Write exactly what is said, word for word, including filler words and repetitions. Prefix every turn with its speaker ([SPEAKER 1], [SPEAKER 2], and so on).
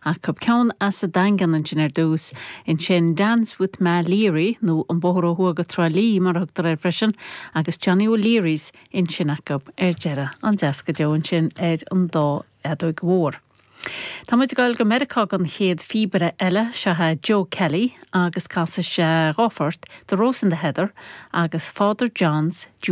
[SPEAKER 1] Acu ceann as an Daingean ansin ar dtús ansin Dance with Ma Leary nó an bóthar ó thuaidh go Trá Lí mar a thugtar air freisin agus Johnny O'Leary's ansin acu ar deireadh an-deas go deo ansin ar an dá fheadóg mhór. Tá muid ag dul go Meiriceá don chéad phíobaire eile seo é Joe Kelly agus casfaidh sé dhá phort The Rose in the Heather agus Father John's